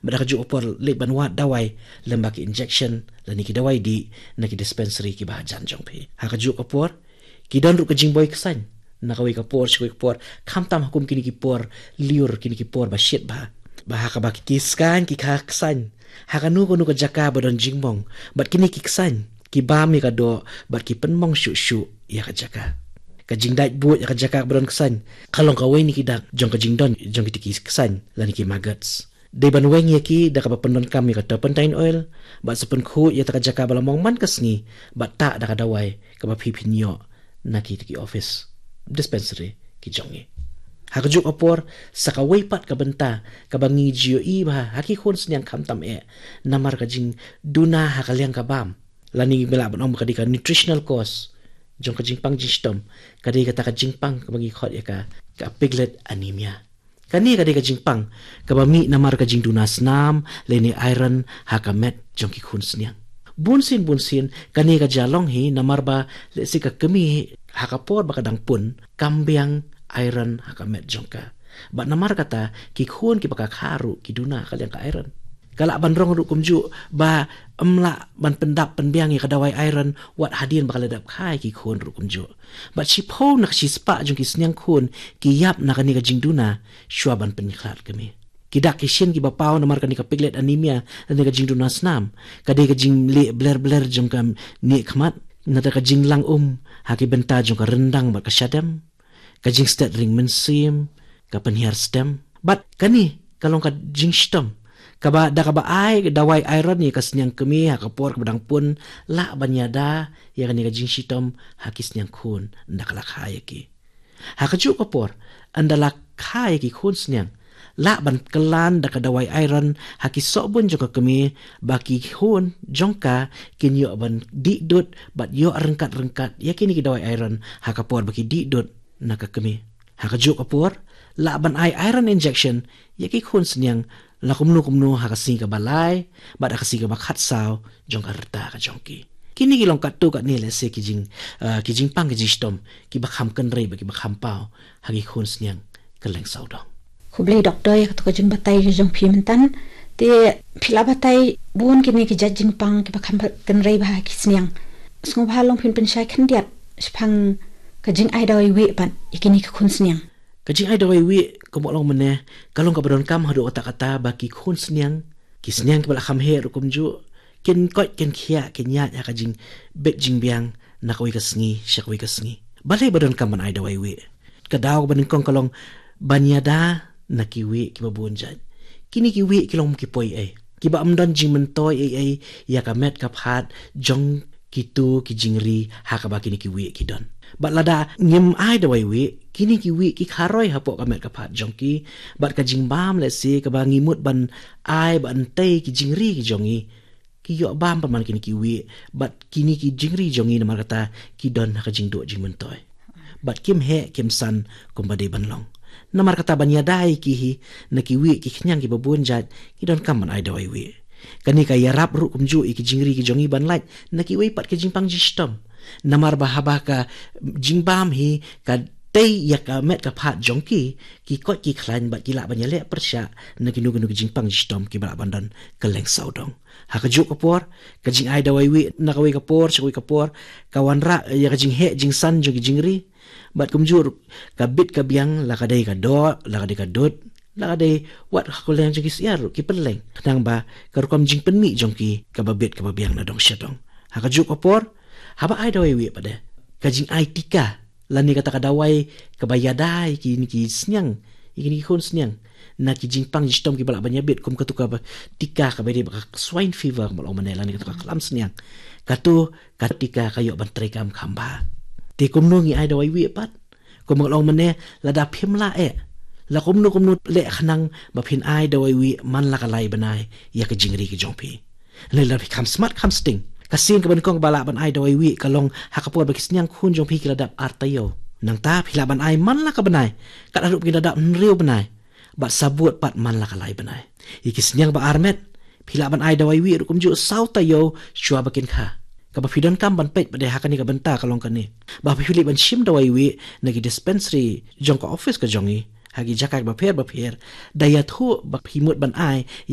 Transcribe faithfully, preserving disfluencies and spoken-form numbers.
Bad ha kajuh ka por leit ban wad dawai lem bad ki injection lane ki dawai dih na ki dispensary kiba hajan jong phi. Ha kajuh ka por ki don ruh ka jingboi ksain na kawei ka por sha kawei ka por, khamtam ha kum kine ki por lyiur, kine ki por ba shit bha, ba ha kaba ki ksain ki kha ksain ha kano kano ka jaka ba don jingmong. Bad kine ki ksain ki bam ïa ka doh bad ki pynmong shuh shuh ïa ka jaka. Ka jingdait buit ïa ka jaka ba don ksain ka long kawei na ki dak jong ka jingdon jong kine ki ksain lane ki maggots. Dei ban weng ïa ki da kaba pyndonkam ïa ka turpentine oil bad sa pynkhuid ïa kata ka jaka ba la mong man ka sngi bad tah da ka dawai kaba phi phin ïoh na kita ki office, dispensary ki jong ngi. Ha kajuh ka por sa kawei pat ka bynta kaba ngi ju ïohi bha ha ki khun sniang khamtam eh, namar ka jingduna ha ka liang ka bam, lane ba lah ban ong ba ka dei ka nutritional cause jong ka jingpang jingshitom, ka dei kata ka jingpang kaba ngi khot ïa ka, ka piglet anemia. Kane ka dei ka jingpang kaba mih namar ka jingduna snam lane iron ha ka met jong ki khun sniang. Bunsien bunsien kane ka jia long hi namar ba lehse ka kmie ha ka por ba ka dang pun kam biang iron ha ka met jong ka. Bad namar kata ki khun kiba ka kha ruh ki duna ha ka liang ka iron. Ka lah ban rong ruh kumjuh ba ym lah ban pyndap pynbiang ïa ka dawai iron wat hadien ba ka la dep kha ïa ki khun ruh kumjuh. Bad shiphew na ka shispah jong ki sniang khun ki ïap na kane ka jingduna shuwa ban pynkhlad kmie. Ki dak ki shin kiba paw namar kane ka piglet anemia lane ka jingduna snam ka dei ka jingleh bler bler jong ka nieh khmat, nangta ka jinglang um ha ki bynta jong ka ryndang bad ka shadem, ka jingstet ring mynsiem, ka pynhiar stem. Bad kane ka long ka jingshitom kaba da kaba ai dawai iron ïa ka sniang kmie ha ka por kaba dang pun lah ban ïada ïa kane ka jingshitom ha ki sniang khun ynda ka la kha ïa ki. Ha kajuh ka por ynda la kha ïa ki khun sniang lah ban kylla da ka dawai iron ha ki sohbun jong ka kmie ba ki khun jong ka kin ïoh ban dih dud bad ïoh ryngkat ryngkat ïa kine ki dawai iron ha ka por ba ki dih dud na ka kmie. Ha kajuh ka por lah ban ai iron injection ïa ki khun sniang la kumno kumno ha ka sngi kaba lai bad ha ka sngi kaba khatsaw jong ka rta ka jong ki. Kine ki long katto katne lehse ki jing, ah, ki jingpang ki jingshitom kiba kham kynrei bad kiba kham paw ha ki khun sniang kylleng sawdong. Khublei doktor ïa kato ka jingbatai ka jong phi mynta. Te phi la batai bun kine ki jait jingpang kiba kham kynrei bha ha ki sniang. Sngewbha long phin pynshai khyndiat shaphang ka jingai dawai wieh pat ïa kine ki khun sniang. Ka jingai dawai wieh kumba long mynne ka long kaba donkam haduh katta katta ba ki khun sniang, ki sniang kiba la kham heh ruh kumjuh, kin koit kin khiah kin ïaid ha ka jingbit jingbiang na kawei ka sngi sha kawei ka sngi. Balei ba donkam ban ai dawai wieh? Ka daw kaba nyngkong ka long ban ïada na ki wieh kiba bun jait. Kine ki wieh ki long ki poi ei, kiba ym don jingmyntoi ei ei ïa ka met ka phad jong kito ki jingri ha kaba kine ki wieh ki don. Bad lada ngim ai dawai wieh, kine ki wieh ki kharoi hapoh ka met ka phad jong ki, bad ka jingbam lehse kaba ngi mut ban ai ban tei ki jingri ki jong ngi, ki ïoh bam pat man kine ki wieh bad kine ki jingri jong ngi, namar kata ki don ha ka jingduh jingmyntoi bad kim heh kim san kumba dei ban long. Namar kata ban ïada ïa ki hi na ki wieh ki khñiang kiba bun jait ngi donkam ban ai dawai wieh. Kane ka ïarap ruh kumjuh ïa ki jingri ki jong ngi ban lait na kiwei pat ki jingpang jingshitom. Namar ba haba ka jingbam hi ka tei ïa ka met ka phad jong ki, ki koit ki khlaiñ bad ki lah ban ïaleh pyrshah na kino kino ki jingpang jingshitom kiba lah ban don kylleng sawdong. Ha kajuh ka por ka jingai dawai wieh na kawei ka por sha kawei ka por ka wanrah ïa ka jingheh jingsan jong ki jingri. Bad kumjuh ruh ka bit ka biang, la ka dei ka doh, la ka dei ka dud, la ka dei wat ha ka liang jong ki syiar ruh ki pynleng, khnang ba ka rukom jingpynmih jong ki kaba bit kaba biang na dong sha dong. Ha kajuh ka por haba ai dawai wieh pat de, ka jingai tika lane kata ka dawai kaba ïada ïa kine ki sniang, ïa kine ki khun sniang na ki jingpang jingshitom kiba lah ban ïabit, kum kato kaba tika kaba dei ba ka swine fever kumba long mynne lane kato ka khlam sniang. Kato ka tika ka ïoh ban treikam kham bha. Te kumno ngi ai dawai wieh pat? Kumba long mynne, lada phim lah eh, la kumno kumno leh khnang ba phin ai dawai wieh man la ka lai bnai ïa ka jingri ka jong phi. Lada phi kham smat kham sting, ka sien kaba nyngkong ba lah ban ai dawai wieh ka long ha ka por ba ki sniang khun jong phi ki la dap ar taïew. Nangta phi lah ban ai man la ka bnai, katba ruh ki la dap hynriew bnai, bad sabut pat man la ka lai bnai. Ïa ki sniang ba armet phi lah ban ai dawai wieh ruh kumjuh saw taïew shuwa ba kin kha. Kaba phi donkam ban peit pat de ha kane ka bynta ka long kane, ba phi leit ban shim dawai wieh na ki dispensary jong ka office ka jong ngi ha ki jaka bapher bapher, da ïathuh ba phi mut ban ai